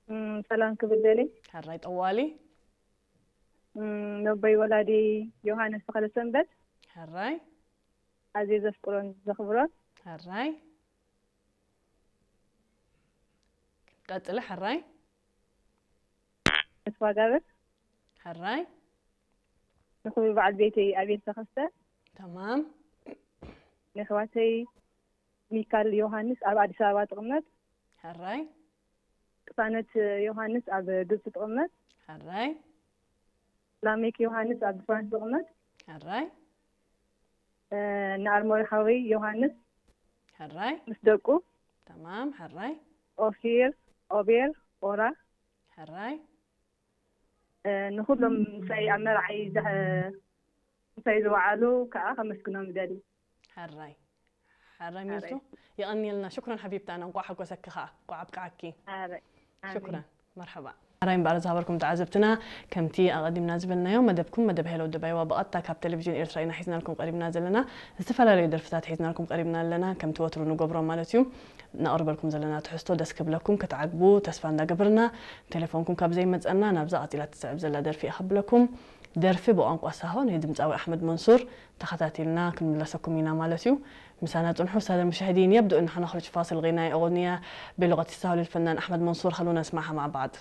እም፣ ሰላም ክብል ደሊ። ሕራይ ጠዋሊ። እም፣ ነቦይ ወላዲ ዮሃንስ ተኸለ ሰንበት ሕራይ ኣዝየ ዘፍቅሮን ዘኽብሮን። ሕራይ ቀጽሊ። ሕራይ ተስፋ ጋብር ሕራይ ንኽቡር በዓል ቤተይ ኣቤል ተኸስተ፣ ተማም። ንኣሕዋተይ ሚካል ዮሃንስ ኣብ ኣዲስ ኣበባ ትቕመጥ፣ ሕራይ ቅሳነት ዮሃንስ ኣብ ግብፂ ትቕመጥ፣ ሕራይ ላሜክ ዮሃንስ ኣብ ፍራንስ ትቕመጥ፣ ሕራይ እ፣ ንኣርሞሪ ሓወይ ዮሃንስ ሕራይ ምስ ደቁ፣ ተማም። ሕራይ ኦፊር፣ ኦቤር፣ ኦራ፣ ሕራይ እ፣ ንኹሎም ምሳይ ኣብ መርዓይ ዝሐ-፣ ምሳይ ዝወዓሉ ከዓ ከመስግኖም ይደሊ። ሕራይ ሕራይ ሚልቱ። የቐንየልና። ሽኩረን ሓቢብታና፣ እንቋዕ ሓጎሰኪ ከዓ፣ እንቋዕ ኣብቅዓኪ። ኣረ፣ ኣሜን። ሽኩረን። መርሓባ። ሕራይ እምበኣር ዝሃበርኩም ተዓዘብትና፣ ከምቲ ኣቐዲምና ዝበልናዮ፣ መደብኩም መደብ ሄሎ ደባይዋ ብቐጥታ ካብ ቴሌቪዥን ኤርትራ ኢና ሒዝናልኩም ቀሪብና ዘለና። ዝተፈላለዩ ደርፍታት ሒዝናልኩም ቀሪብና ኣለና፣ ከምቲ ወትሩ ንገብሮ ማለት እዩ። ነቕርበልኩም ዘለና ትሕዝቶ ደስ ክብለኩም ክትዓግቡ ተስፋ እንዳገበርና፣ ቴሌፎንኩም ካብ ዘይመጸና ናብዛ ቀጺላ ትስዕብ ዘላ ደርፊ እያ ከብለኩም። ደርፊ ብቋንቋ ሳሆ ናይ ድምጻዊ ኣሕመድ መንሱር ተኸታቲልና ክንምለሰኩም ኢና ማለት እዩ። ምሳና ጽንሑ። السادة المشاهدين، يبدو أن حنخرج فاصل غنائي، أغنية بلغة الساهو للفنان أحمد منصور. خلونا نسمعها مع بعض.